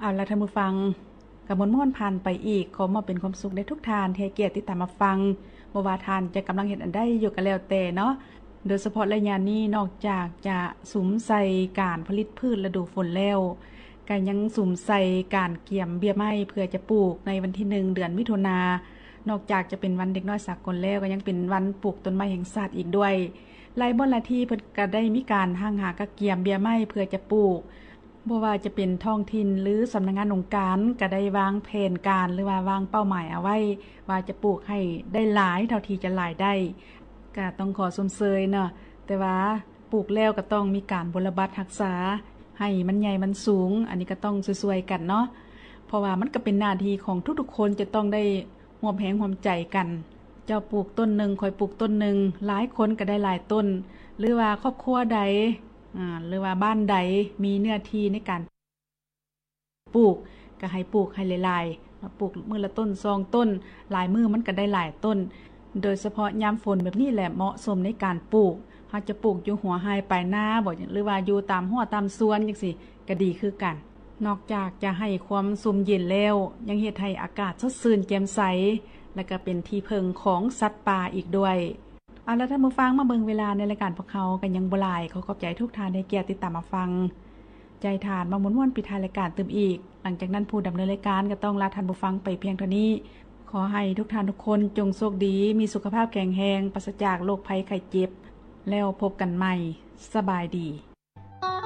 ເອົາລະທ່ານຜູ້ຟັງ ກະມ່ວນໆຜ່ານໄປອີກ. ຂໍມອບເປັນຄວາມສຸກແດ່ທຸກທ່ານທີ່ໃຫ້ກຽດຕິດຕາມຮັບຟັງ, ບໍ່ວ່າທ່ານຈະກຳລັງເຮັດອັນໃດຢູ່ກະແລ້ວແຕ່ເນາະ. ໂດຍສະເພາະໄລຍະນີ້ ນອກຈາກຈະສຸມໃສ່ການຜະລິດພືດລະດູຝົນແລ້ວ, ກະຍັງສຸມໃສ່ການກຽມເບ້ຍໄມ້ເພື່ອຈະປູກໃນວັນທີໜຶ່ງ ເດືອນມິຖຸນາ. ນອກຈາກຈະເປັນວັນເດັກນ້ອຍສາກົນແລ້ວ, ກະຍັງເປັນວັນປູກຕົ້ນໄມ້ແຫ່ງຊາດອີກດ້ວຍ. ຫຼາຍບ່ອນຫຼາຍທີ່ເພິ່ນກະໄດ້ມີການຫ້າງຫາກະກຽມເບ້ຍໄມ້ເພື່ອຈະປູກ, ບໍ່ວ່າຈະເປັນທ້ອງຖິ່ນ ຫຼື ສຳນັກງານອົງການ ກະໄດ້ວາງແຜນການ ຫຼືວ່າວາງເປົ້າໝາຍເອົາໄວ້ ວ່າຈະປູກໃຫ້ໄດ້ຫຼາຍເທົ່າທີ່ຈະຫຼາຍໄດ້. ກະຕ້ອງຂໍຊົມເຊີຍເນາະ, ແຕ່ວ່າປູກແລ້ວກະຕ້ອງມີການບົວລະບັດຮັກສາ ໃຫ້ມັນໃຫຍ່ມັນສູງ, ອັນນີ້ກະຕ້ອງຊ່ວຍໆກັນເນາະ, ເພາະວ່າມັນກະເປັນໜ້າທີ່ຂອງທຸກໆຄົນ ຈະຕ້ອງໄດ້ຮ່ວມແຮງຮ່ວມໃຈກັນ. ເຈົ້າປູກຕົ້ນໜຶ່ງ ຂ້ອຍປູກຕົ້ນໜຶ່ງ, ຫຼາຍຄົນກະໄດ້ຫຼາຍຕົ້ນ, ຫຼືວ່າຄອບຄົວໃດ ອາ ຫຼືວ່າບ້ານໃດມີເນື້ອທີ່ໃນການປູກ ກະໃຫ້ປູກໃຫ້ຫຼາຍໆ, ປູກມື້ລະຕົ້ນສອງຕົ້ນ, ຫຼາຍມື້ມັນກະໄດ້ຫຼາຍຕົ້ນ. ໂດຍສະເພາະຍາມຝົນແບບນີ້ແຫຼະເໝາະສົມໃນການປູກ. ເຮົາຈະປູກຢູ່ຫົວໄຮ່ປາຍນາບໍ ຫຼືວ່າຢູ່ຕາມຮົ້ວຕາມສວນຈັ່ງຊີ້ ກະດີຄືກັນ. ນອກຈາກຈະໃຫ້ຄວາມຊຸ່ມເຢັນແລ້ວ, ຍັງເຮັດໃຫ້ອາກາດສົດຊື່ນແຈ່ມໃສ ແລະກະເປັນທີ່ເພິ່ງຂອງສັດປ່າອີກດ້ວຍ. ເອົາລະທ່ານຜູ້ຟັງ, ມາເບິ່ງເວລາໃນລາຍການພວກເຮົາກະຍັງບໍ່ຫຼາຍ. ຂໍຂອບໃຈທຸກທ່ານທີ່ໃຫ້ກຽດຕິດຕາມຮັບຟັງ. ໃຈທ່ານມາມ່ວນໆປິດທ້າຍລາຍການຕື່ມອີກ. ຫຼັງຈາກນັ້ນ ຜູ້ດຳເນີນລາຍການກະຕ້ອງລາທ່ານຜູ້ຟັງໄປພຽງເທົ່ານີ້. ຂໍໃຫ້ທຸກທ່ານທຸກຄົນຈົ່ງໂຊກດີ, ມີສຸຂະພາບແຂງແຮງ, ປາສະຈາກໂລກໄພໄຂ້ເຈັບ. ແລ້ວພົບກັນໃໝ່. ສະບາຍດີ.